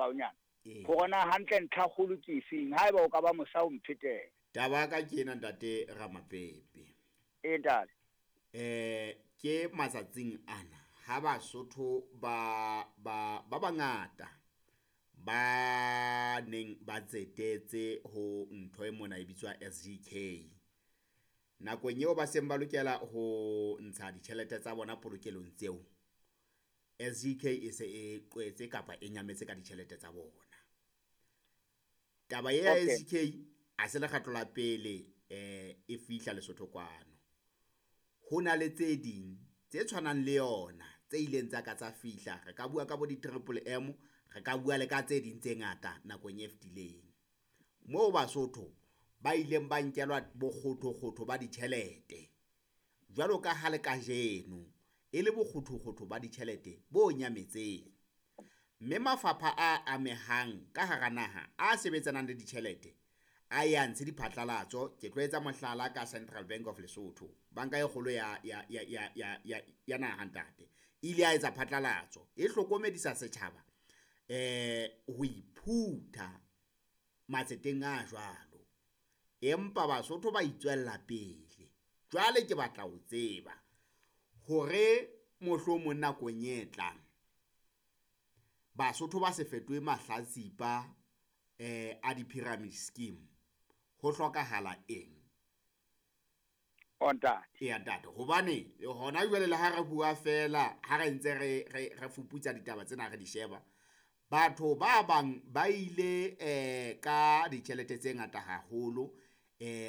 moraonyana. Hore na hantle ntlha kgolo ke efeng, haeba o ka ba mosa o mphetela. Taba ya ka ke ena ntate Ramapepe. Ee ntate. Ke matsatsing ana ha Basotho ba ba ba bangata ba neng ba tsetetse ho ntho e mona e bitswa SGK. Nakong eo ba seng ba lokela ho ntsha ditjhelete tsa bona polokelong tseo, SGK e se e qwetse kapa e nyametse ka ditjhelete tsa bona. Taba ya SGK ha se lekgetlo la pele e fihla Lesotho kwano. Ho na le tse ding tse tshwanang le yona tse ileng tsa ka tsa fihla. Re ka bua ka bo di-triple M, re ka bua le ka tse ding tse ngata nakong e fetileng. Moo Basotho ba ileng ba nkelwa bokgothokgotho ba ditjhelete, jwalo ka ha le kajeno e le bokgothokgotho ba ditjhelete bo nyametseng. Mme mafapha a amehang ka hara naha a sebetsanang le ditjhelete a ye a ntshe diphatlalatso. Ke tlo etsa mohlala ka Central Bank of Lesotho, banka e kgolo ya ya ya ya ya ya ya naha ntate. E ile ya etsa phatlalatso e hlokomedisa setjhaba ho iphutha matseteng a jwalo. Empa Basotho ba itswella pele. Jwale ke batla ho tseba hore mohlomong nakong e tlang Basotho ba se fetohe mahlatsipa a di-pyramid scheme, ho hlokahala eng? O ntate. Eya ntate, hobane hona jwale le ha re bua fela, ha re ntse re re re fuputsa ditaba tsena re di sheba, batho ba bang ba ile ka ditjhelete tse ngata haholo,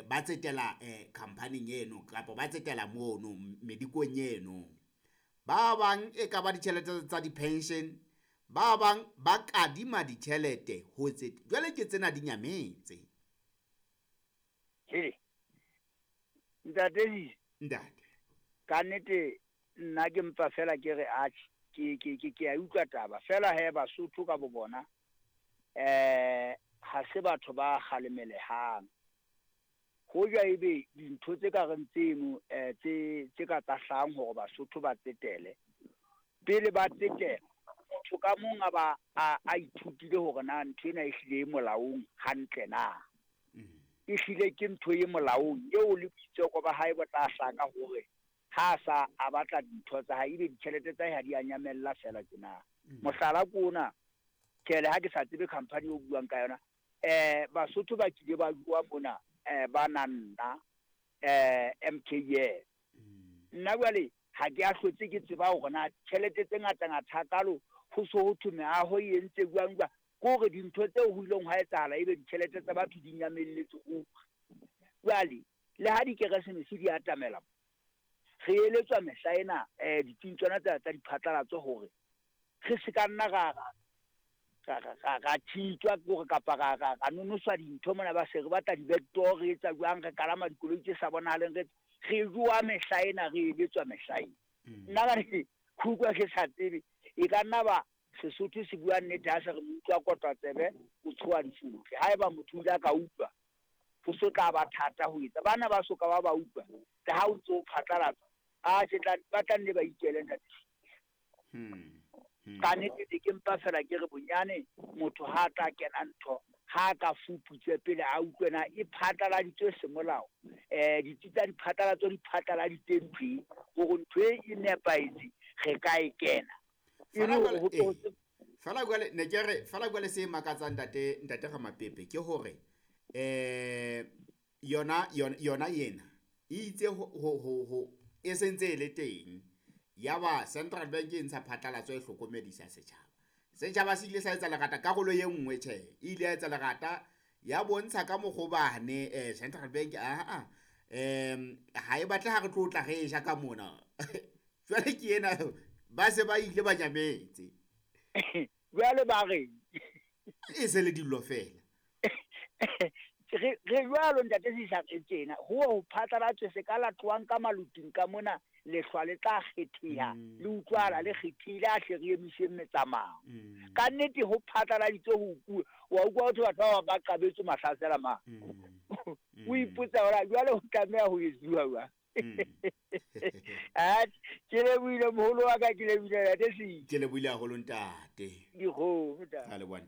ba tsetela khampaning eno kapa ba tsetela mono medikong eno. Ba bang e ka ba ditjhelete tsa di-pension, ba bang ba kadima ditjhelete ho tse jwale ke tsena di nyametse. He. Ntate Ntate. Ka nnete nna ke mpa fela ke re atjhe, ke ke ke ke a utlwa taba fela he Basotho ka bo bona ha se batho ba kgalemelehang. Hoja ebe dintho tse ka reng tseno tse tse ka tsa hlahang hore Basotho ba tsetele, pele ba tsetela motho ka mong a ba a ithutile hore na ntho ena e hlile e molaong hantle na. E hlile ke ntho e molaong eo le boitseko ba hae bo tla hlaka hore ha sa a batla dintho tsa hae, ebe ditjhelete tsa hae ha di a nyamella fela tjena. Mohlala ke ona, tjhe le ha ke sa tsebe company eo buang ka yona, Basotho ba kile ba jowa mona ba nang nna MKN. Nna jwale ha ke a hlotse ke tseba hore na tjhelete tse ngata ngata hakalo ho so ho thwe meaho e entse jwang jwang. Ke hore dintho tseo ho ileng hwa etsahala ebe ditjhelete tsa batho di nyamelletse ruri. Jwale le ha dikeresemese di atamela, re eletswa mehla ena ditsing tsona tsa tsa diphatlalatso hore re se ka nna ra ra ra ra ra thitswa ke hore kapa ra ra ra nonoswa dintho mona, ba se re batla di-backdoor, re etsa jwang, re kalama dikoloi tse sa bonahaleng, re re jowa mehla ena, re eletswa mehla ena. Nna ka re ke utlwa ke sa tsebe, e ka nna ba Sesotho se bua nnete ha se re moutlwa kotwa tsebe o tshoha difotle. Haeba motho o ile a ka utlwa, ho so tla ba thata ho etsa. Bana ba soka ba ba utlwa, le ha o ntso o phatlalatsa, atjhe tla ba tla nne ba ikele ntate. Ka nnete ne ke mpa fela ke re bonyane motho ha a tla kena ntho, ha a ka fuputse pele a utlwe na e phatlaladitswe semolao. Ditsi tsa diphatlalatso di phatlaladitse ntho e, hore ntho e e nepahetse, re ka e kena. E le hore ho tlo Fela jwale ne ke re fela jwale se makatsang ntate ntate Ramapepe ke hore yona yona yona ena e itse ho ho ho e sentse e le teng, ya ba Central Bank e ntsha phatlalatso e hlokomedisa setjhaba. Setjhaba se ile sa etsa lerata karolo e nngwe, tjhe, e ile ya etsa lerata ya bontsha ka mokgo bane Central Bank aa ha e batle ha re tlo tla re ja ka mona. Jwale ke ena ba se ba ile ba nyametse. Jwale ba re e se le dillo fela. Re re jwalo ntate Sisa re tjena, ho ho phatlalatswe se ka latloang ka maluting ka mona, lehlwa le tla kgetheha, le utlwala le kgethehile, a hle re emiseng metsamao. Ka nnete ho phatlaladitswe ho kuwe, wa utlwa ho thwe batho ba bang ba qabetswe mahlasela ma. O ipotsa hore jwale ho tlameha ho etsuwa jwang. Atjhe, ke lebohile moholo wa ka, ke lebohile ntate Sisa. Ke lebohile haholo ntate. Dikgomo ntate. Ka leboha ntate.